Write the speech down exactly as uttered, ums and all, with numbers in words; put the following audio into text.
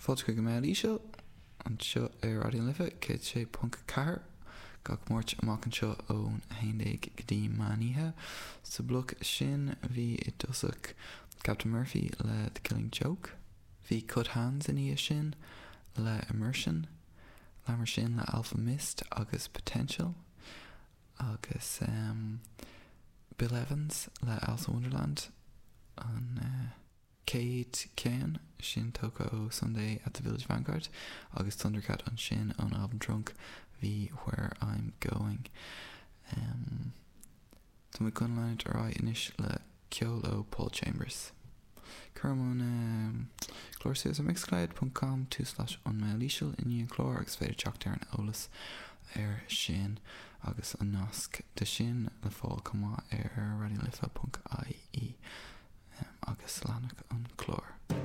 Fáilte chuig an Mbéal Íseal anseo ar Raidió na Life céad sé ponc ceathair gach Máirt amach anseo ón haon déag go dtí meán oíche. Sa bhloc sin bhí i dtosach Captain Murphy le The Killing Joke, bhí Cut Hands ina dhiaidh sin le Immersion, leanamar sin le Alfa Mist agus Potential, agus um, Bill Evans le Alice in Wonderland an uh, chéad cheann sin tógtha ó Sunday at the Village Vanguard agus Thundercat ansin ón album Trunk bhí Where I'm Going. Um, Tá mé chun leanúint ar aghaidh anois le ceol ó Paul Chambers. Cuirim an um, clár suas ar mixcloud.com two slash an Mbéal Íseal i ndiaidh an chlár agus féidir teacht ar an eolas ar sin agus an nasc de sin le fáil chomh maith ar radiolife.ie um, agus leanfaidh an clár.